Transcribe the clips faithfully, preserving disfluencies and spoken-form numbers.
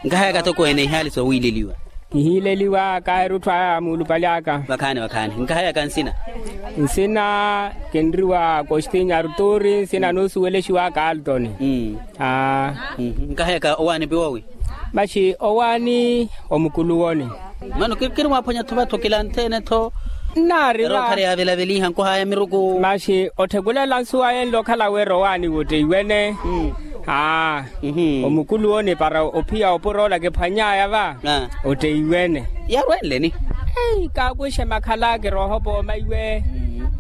Nkahayaka toko ene ihaali sowiileliwa. Ihiileliwa kaahirutthu aya muulupali aka. Vakhaani vakhaani nkahayaka nsina. Nsina kinriwa kostinya arturi nsina noosuwelexiwaka altoni. Aa. Nkahayaka owaani piwowi. Maxi owaani omukuluwoni. Mano kinimwaaphwanya-tho vatho kilanthene-tho. Nnaari va. Okhala yaavelaveliha nkuhaya miruku. Maxi otthekulela nsuwa yenle okhala wira owaani wotteiwene. Aa. Omukuluwoni para ophiya opuroola kiphwany'aya va. Otteiwene. Yarwenleni. Kaakuxe makhala kiroohopa omaiwe.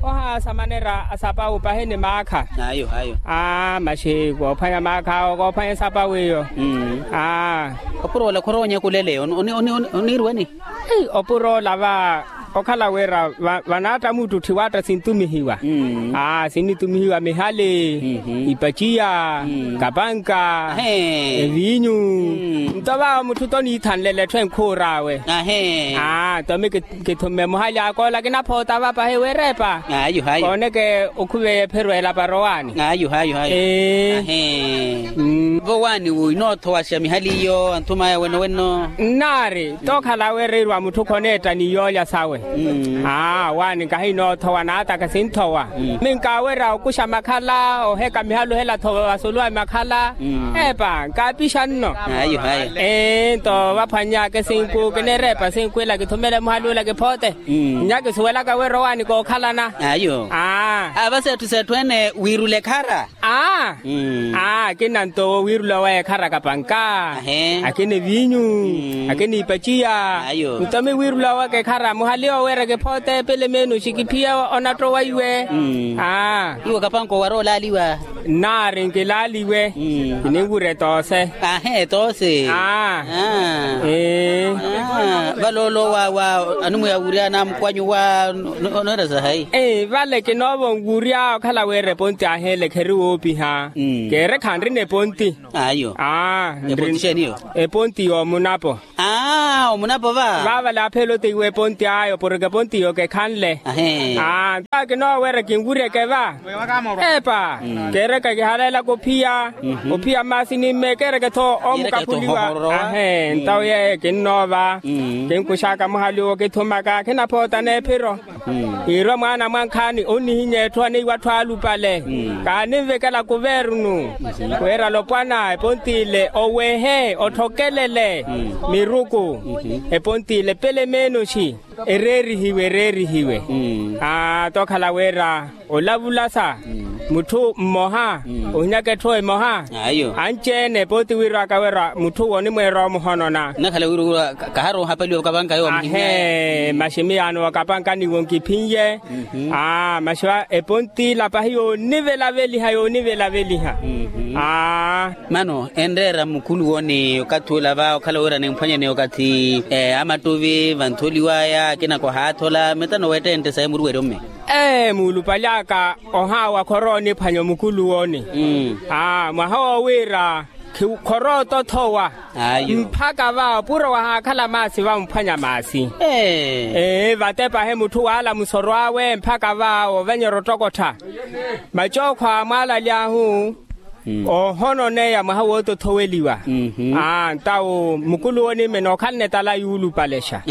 Ohaasa manera asapawu pahi ni maakha. Ayo ayo. Aa maxi koophwanya maakha awo koophwanya esapawu iyo. Aa. Opuroola khoroonyakulele oniirwani. Opuroola va okhala wira vanaatta muttutthi waatta sintumihiwa. Aa sinnitumihiwa mihali, ipaciya, kapanka, eviinyu. Nto vaawo mutthu toniithanlele etthu enkhuur'awe. Aa nto mi kithumme muhali akoola kinaphoota va pahi wirepa. Kooneke okhuveya ephiro elapara owaani. Ee. Vowaani wi inoothowaxa mihali iyo anthum'aya weno weno. Nnaari tookhala wira iirwa mutthu khoneetta ni yoolya sawe. Aa waani nkahi inoothowa naataka sinthowa. Minkaawerya okuxa makhala oheka mihaluhela-tho vasuluwa makhala. Epa nkaapixa nno. Ee nto vaphwanny'aka esinku kinirepa esinku ila kithumele muhali ula kiphoote. Nnya kisuwelaka wira owaani kookhalana. Aa. Aa vasi etthu s'etthu ene wiirula ekhara. Aa. Aa akina nto wiirula oweya ekhara kapanka. Akina eviinyu. Akina ipaciya. Nto mi wiirula owaka ekhara muhali oweereke phoote pele meenu xikiphiya onatto waiwe. Aa. Iwo kapanka owara olaaliwa. Nnaari nkilaaliwe. Kininwurya etoose. Ahe etoose. Aa. Ee. Vale olowa wa animwiya wurya anamukwanyu wa oneera sahayi. Ee vale kinoova onwurya okhala wira eponti aheele kheri woopiha. Keere khanrina eponti. Ayo. Aa. Eponti xeeni iyo? Eponti yoomunapo. Aa omunapo va. Vaavale aphela oteiwa eponti ayo porke eponti iyo kekhanle. Aa nto akinoowerya kinwuryeke va. Epa. Keereke kihaleelaka ophiya ophiya maasi ni mme keereke-tho omukaphuliwa. Ahe nto yeeyo kinnoova. Kinkuxaka muhali owo kithumaka khinaphootana ephiro. Iirwa mwaana mwankhaani onnihinya etthu aneiwa atthu alupale. Kaaninvekela kuvernu wira lopwana eponti ile owehe otthokelele miruku. Eponti ile pele meenoxi ereerihiwe ereerihiwe. Aa tookhala wira olavulasa mutthu mmoha ohinyaka etthu emoha. Anci-ene pooti wiirwaka wira mutthu wonimweera omuhonona. Nnakhala wiirwa kaharowa ohapaliwa vakapanka yowo amuhinya. Ahe maxi miyaano wakapanka niwo nkiphinye. Aa maxi va eponti ila pahi yoonivelaveliha yoonivelaveliha. Aa. Mano enreera mukhuluwo ni okathi ula va okhala wira nimphwanyaneya okathi amattuvi vantholiwaya akina kohaathola metano weettentte sayi muruweryo mme. Ee muulupali aka ohaawa khorooniphwanya omukhuluwoni. Aa mwaha wo wira khorootothowa. Mpakha va opuro wahaakhala maasi vamphwanya maasi. Ee vatepahe mutthu waala musoro awe mpakha va ovanyerya ottokottha. Macookho a mwaalali ahu oohononeya mwaha wootothoweliwa. Aa ntawo mukulu wonimme nookhalana etala yuulupalexa.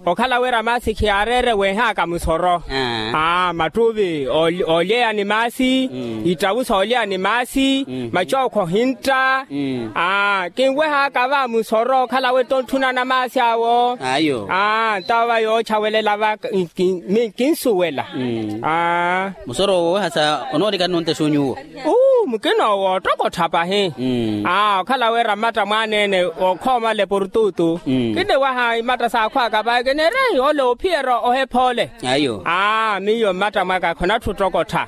Okhala wira maasi khiyaareere weehaaka musoro. Aa mattuvi oolyeya ni maasi. Ittawu soolyeya ni maasi. Macookho ohintta. Aa kinwehaaka va musoro okhala wira tonthunana maasi awo. Aa ntawo va yoochawelela va. Kinsuwela. Musoro owo hasa onoolekani nontexa onyuwo. Uu mukina owo ottokottha pahi. Aa okhala wira mmatta mwaana-ene okhoomala eportutu. Kiniwaha imatta saakhwaka pahi kineera ole ophiyerya ohephole. Aa miyo mmatta mwaka khonatthu ottokottha.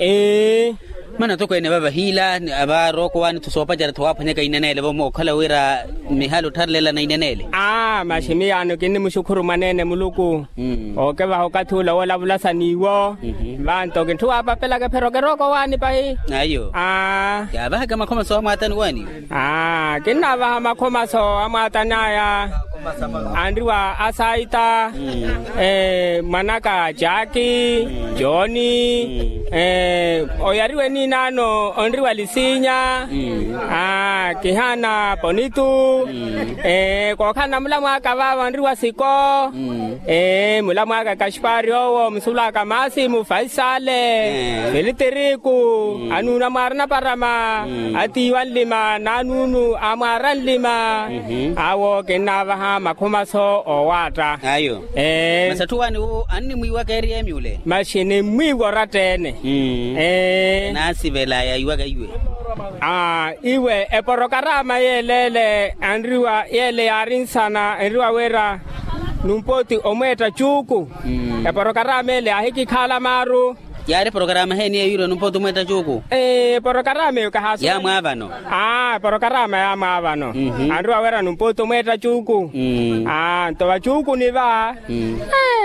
Ee. Mana atokweene vava hiila. Ava rooko waani-tho soopacerya-tho waaphwanyaka ineneele vomo okhala wira mihaali ottharelelana ineneele. Aa maxi miyaano kinnimuxukhuru mwaneene muluku. Ookevaha okathi ula woolavulasa n'iwo. Vanto kintthu waapapelaka ephiro kirooko waani pahi. Aa. Yaavahaka makhomaso amwaatani waani. Aa kinnaavaha makhomaso amwaatani aya. Anriwa asaita. Mwanaka jaaki. Jooni. Oyariwe ninaano onriwa lisinya. Aa. Kihaana ponitu. Kookhalana mulamwaaka vaavo anriwa siko. Mulamwaaka kaxipari owo musulwaaka maasimu faisale, felitiriku, anuuna mwaara naparama, atiiwa nlima nanuunu amwaara nlima. Awo kinnaavaha makhumaso oowaatta. Ayo. Masi atthu waani wo annimwiiwaka eri emi ule. Masi nimmwiiwa oratta-ene. Naasivela yaiwaka iwe. Iwe eporokarama yeeleele anriwa yeele yaari nsana enriwa wira, numpooti omweetta cuuku. Eporokarama ele yaahikikhaala maaru. Yaari eporokarama heeni eyo yirwe numpooti omweetta cuuku? Eporokarama eyo kahaasa. Yaamwaavano. Eporokarama yaamwaavano. Anriwa wira numpooti omweetta cuuku. Nto vacuukuni va,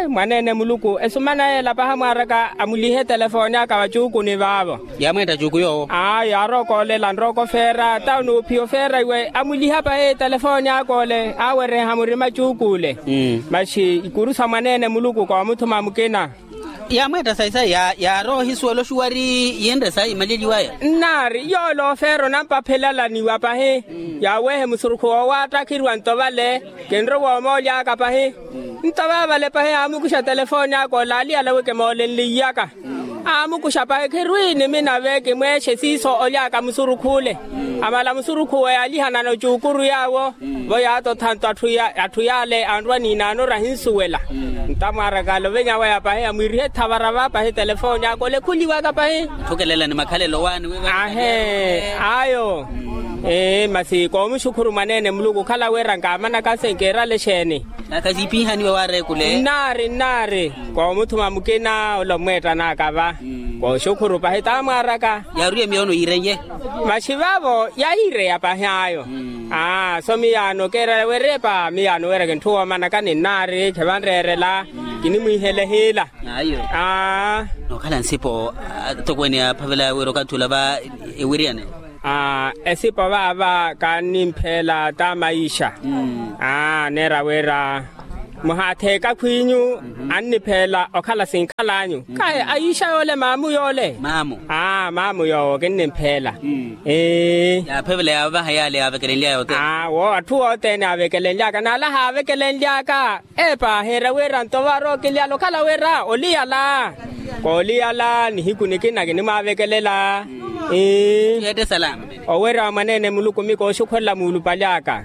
mwaneene muluku esumana yeela pahi amwaaraka amulihe telefoni aka vacuukuni vaavo. Yaamweetta cuuku yoowo. Aa yaarookolela nrooko feera tawo nuuphiya ofeera iwe amuliha pahi telefoni aka ole awereha murima cuuku ule. Masi ikuru sa mwaneene muluku koomuthuma mukina. Yaamweetta sayi sayi yaarooha ohisuwela oxuwari yinre sayi imaleliwaya. Nnaari yoole ofeera onampaphelalaniwa pahi. Yaawehe musurukhu woowaatta khiriwa nto vale. Kinrowa omooly'aka pahi. Nto vaavale pahi aamukuxa telefoni aka ole aliyala wi kimoolenliyaka. Aamukuxa pahi khirwi nimi nave kimweexe siiso oly'aka musurukhu ole. Amala musurukhu owo yaalihanana ocuukuru yaawo. Vo yaatotha nto atthu yaale anrwa niinaano orahinsuwela. Ntamwaaraka alovenya waya pahi amwiirihe ethavara va pahi telefoni aka ole khuliwaka pahi. Atthukelela ni makhalelo waani wi ahe. Ayo. Masi koomuxukhuru mwaneene muluku okhala wira nkaamanaka se nkiirale exeeni? Naka siipiihaniwe waareekule. Nnaari nnaari. Koomuthuma mukina ole omweettan'aka va. Kooxukhuru pahi tamwaaraka. Yaarwiye miyoono yiirenye. Masi vaavo yahiireya pahi ayo. Aa so miyaano keerela werepa miyaano wira kinthu woomanaka ni nnaari khivanreerela. Kinimwiihele hiila. Ayo. Aa. Nookhala nsipo atokweene yaaphavela wira okathi ula va ewiriyane. Esipo vaava kannimpheela ta maixa. Aa neera wira muhaatheeka khwiinyu annipheela okhala sinkhal'anyu. Kaye aixa yoole maamu yoole. Aa maamu yoowo kinnimpheela. Ee. Yaaphevela yaavaha yaale yaavekelenly'aya othene. Aa wo atthu othene aavekelenly'aka n'ala haavekelenly'aka. Epa heera wira nto vaarookilyala okhala wira oliyala. Kooliyala nihiku nikina kinimwaavekelela. Ii. Owerya wa mwaneene muluku mi kooxukhurela muulupali aka.